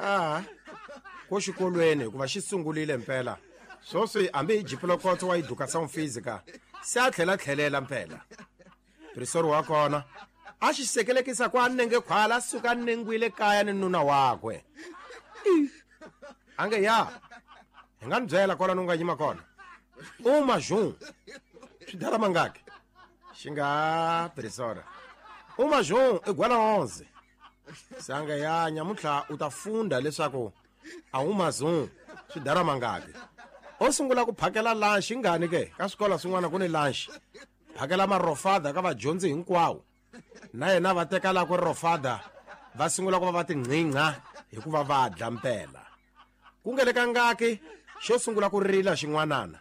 A ko xikolweni hikuva xi sungulile mpela swoswi hambi hi jipulokotso wa education física se a tlhela tlhelela mpela prisori wa kona a xi sekelekisa ku a nenge khwala a suka a nengwile kaya ni nuna wakwe a nge ya hi nga ni byela kwalano u nga yima kona u majun swi dala mangaki xi nga prisora u majun i gwala 11 se a nge ya nyamuntlha u ta funda leswaku a wu mazun swi dala mangaki o sungula ku phakela lunch ingani ke ka swikolo swin'wana ku ni lunch phakela marofada ka vadyondzi hinkwawo na yena va teka la ku rofada va sungula ku va va tinqingha hikuva va dla mpela ku nge le ka ngaki xo sungula ku rila xin'wanana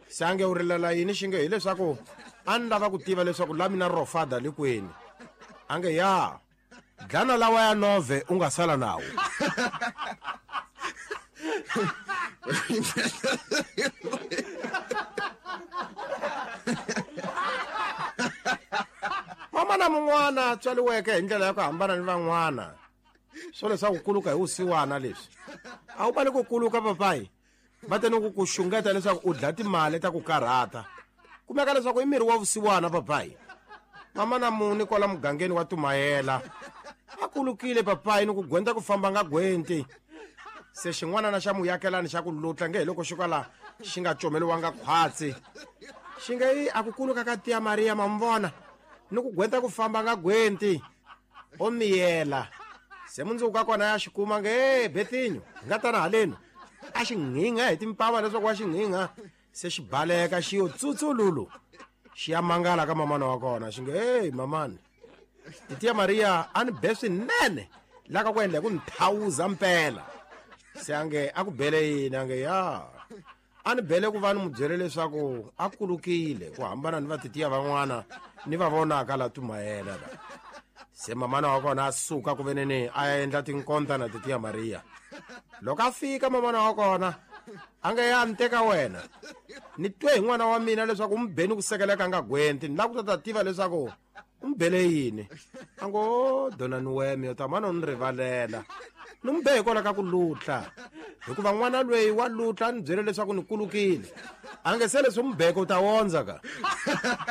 se a nge u rilela yini xi nge hileswaku a ni lava ku tiva leswaku la mina rofada le kwini a nge ya dlana lawa ya nove u nga sala nawo. Mamana mun'wana a tswariweke hi ndlela ya ku hambana ni van'wana swo leswaku kuluka hi vusiwana leswi a wu vali ku kuluka papayi va te ni ku ku xungeta leswaku u dla timali ta ku karhata kumeka leswaku i miri wa vusiwana papayi mama na muni kwala mugangeni wa tumayela a kulukile papayi ni ku gwenta ku famba nga gwenti se xin'wana na xa muyakelani xa ku lutla nge hi loko xo kala xi nga comeliwanga khwatsi xi nge yi a ku kuluka ka tiya mariya ma mi vona ni ku gwenta ku famba nga gwenti o miyela se mundzuku ka kona ya xi kuma nge e betinyo hi nga tana halenu a xi nghingha hi timpava leswaku wa xi nghingha se xi baleka xi yo tsutsululu xi ya mangala ka mamana wa kona xi nge hey mamani titiya mariya a ni be swinene la ka ku endla hi ku ni thawuza mpela se a nge a ku bele yini a nge ya a ni bele ku va ni mu byele leswaku a kulukile ku hambana ni vatitiya van'wana ni va vonaka la tumayela la se mamana wa kona a suka ku veneni a ya endla tinkonta na titiya mariya loko a fika mamana wa kona a nge ya ni teka wena ni twe hi n'wana wa mina leswaku u mi beni ku sekeleka nga gwenti ni lava ku ta ta tiva leswaku u mi bele yini a ngo donani weme yo tamana u ni rivalela ni n'wi be hikwalaho ka ku lutla hikuva n'wana lweyi wa lutla a ni byele leswaku ni kulukile a nge se leswi u mi beke u ta wondza ka.